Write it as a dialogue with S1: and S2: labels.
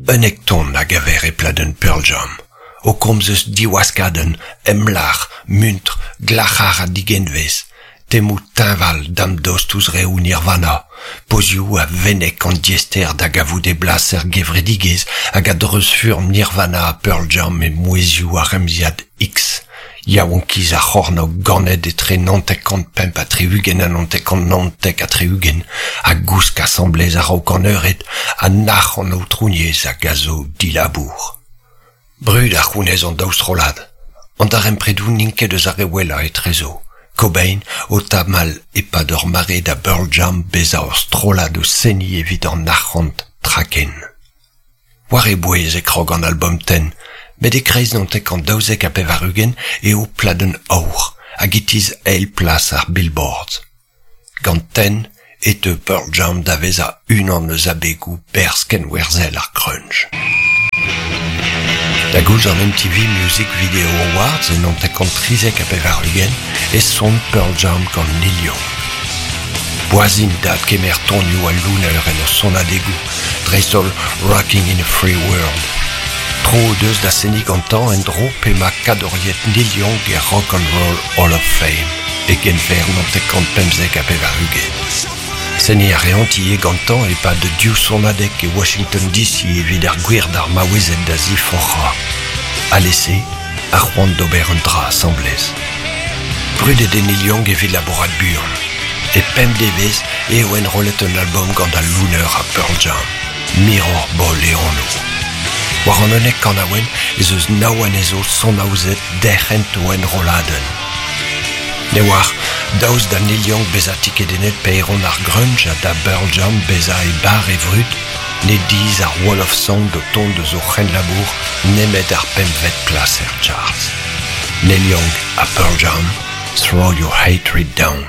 S1: 11 ton a gaver e pladenn Pearl Jam, o komz eus diwaskadenn, emlac'h, muntr, glac'har ha digenvez, temoù teñval damdost ouzh reoù Nirvana, pozioù a veneg an diaester da gavout e blas er gevredigezh hag a dreuzfurm Nirvana ha Pearl Jam e mouezhioù ar remziad X, yaouankiz ar c'hornôg ganet etre 975 ha 979, a gousk asambles a-raok an eured, a nac'h an aotrouniezh hag a zo dilabour. Brud a c'hounez an daou strollad. An darempredoù n'int ket eus ar re wellañ etrezo. Cobain o tamall e-pad ur mare da Pearl Jam bezañ ur strollad o seniñ evit an arc'hant traken. War e bouez e krog an albom Ten, met e-kreiz 1992 eo pladenn aour hag e tizh eil plas ar Billboard. Gant Ten e teu Pearl Jam da vezañ unan eus abegoù berzh kenwerzhel ar grunge. Da goulz an MTV Music Video Awards e 1993 e son Pearl Jam gant Neil Young. Boas int da adkemer tonioù al loner en o sonadegoù, dreist-holl Rocking in a Free World. Tro o deus da seniñ gantañ en-dro p'emañ kadoriet Neil Young er Rock and Roll Hall of Fame e Genver 1995. Seniñ a reont ivez gantañ e-pad div sonadeg e Washington DC evit ar gwir d'ar maouezed da ziforc'hañ. Alese, ar c'hoant d'ober un dra asambles. Brudet eo Neil Young evit labourat buan. E pemp devezh eo enrollet un albom gant al Looner ha Pearl Jam, Mirror Ball e anv. War an unnek kanaouenn ez eus nav anezho sonaozet derc'hent o enrolladenn. Ne oar, daoust da Neil Young bezañ tikedennet paeron ar grunge ha da Pearl Jam bezañ e barr e vrud, ne dizh ar Wall of Sound o tont eus o c'henlabour nemet ar pempvet plas er charts. Neil Young ha Pearl Jam, Throw Your Hatred Down.